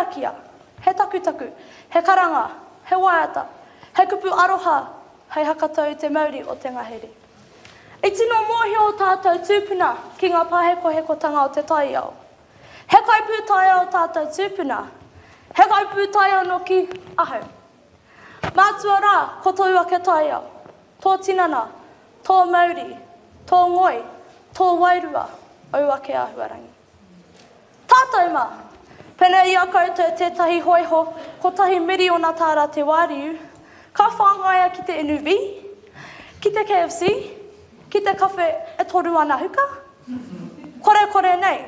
karakia, he takutaku, he karanga, he waiata, he kupu aroha hei hakatau i te mauri o te ngahere. I tino mōhio ō tātou tūpuna ki ngā pāhekohekotanga o te taiao. He kaipūtaiao ō tātou tūpuna, he kaipūtaiao nōki ahau. Mātua rā, ko tōu ake taiao, tō tinana, tō mauri, tō ngoi, tō wairua, ōu ake āhuarangi. Tātou mā! Pēnei i a koutou tētahi hōiho kotahi miriona tāra te wāriu, ka whāngaia ki te NUV, ki te KFC, ki te kawhe e toru ana huka? Korekore nei!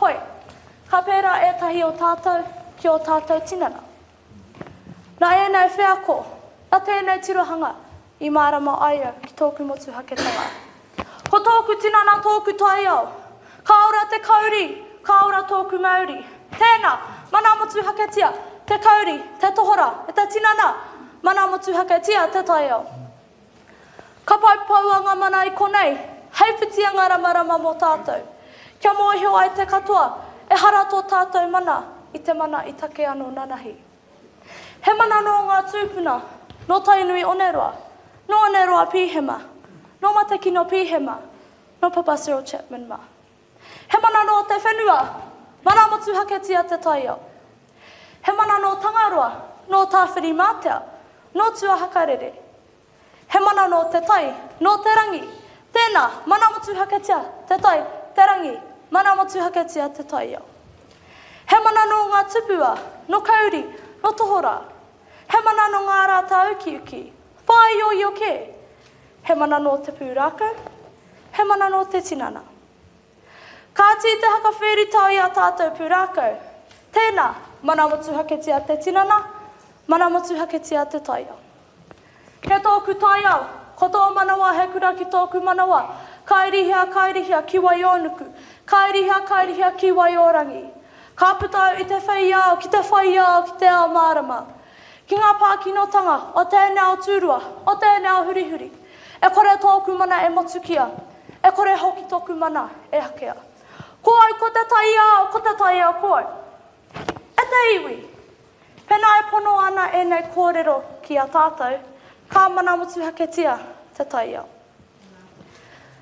Hoi, ka pērā ētahi o tātou ki ō tātou tinana. Nā ēnei wheako, nā tēnei tirohanga i mārama ai au ki tōku motuhaketanga. Ko tōku tinana tōku taiao. Ka ora te kauri, ka ora tōku mauri. Tēnā, mana motuhaketia te kauri, te tohora, me te tinana, mana motuhaketia te taiao. Ka poupoua ngā mana i konei, hei whitianga ramarama mō tātou. Kia mōhio ai te katoa, ehara tō tātou mana i te mana i take anō nanahi. He mana nō ngā tūpuna, nō Tainui Oneroa, nō Oneroa Pīhema, nō Matekino Pīhema, nō Papa Cyril Chapman mā. He mana nō te whenua, mana motuhaketia te taiao. He mana nō Tangaroa, nō Tāwhirimātea, nō Tuahakarere. He mana nō te tai, nō te rangi. Tēnā, mana motuhaketia te tai, te rangi, mana motuhaketia te taiao. He mana nō ngā tupua, nō Kauri, nō Tohorā. He mana nō ngā rā tāukiuki, whāioio kē. He mana nō te pūrākau, he mana nō te tinana. Kāti te haka whēritao i ā tātou pūrākau. Tēnā, mana motuhaketia te tinana, mana motuhaketia te taiao. Kei tōku taiao, ko tō manawa he kura ki tōku manawa, kairihia, kairihia ki Waiōnuku, kairihia, kairihia ki Waiōrangi. Ka puta au i te whei ao ki te whai ao ki te ao mārama. Ki ngā pākinotanga o tēnei ao tūrua, o tēnei ao hurihuri. E kore tōku mana e motukia, e kore hoki tōku mana e hakea. Ko au ko te taiao, ko te taiao ko au. E te iwi! Pēnā e pono ana ēnei kōrero ki a tātou, ka mana motuhaketia te taiao.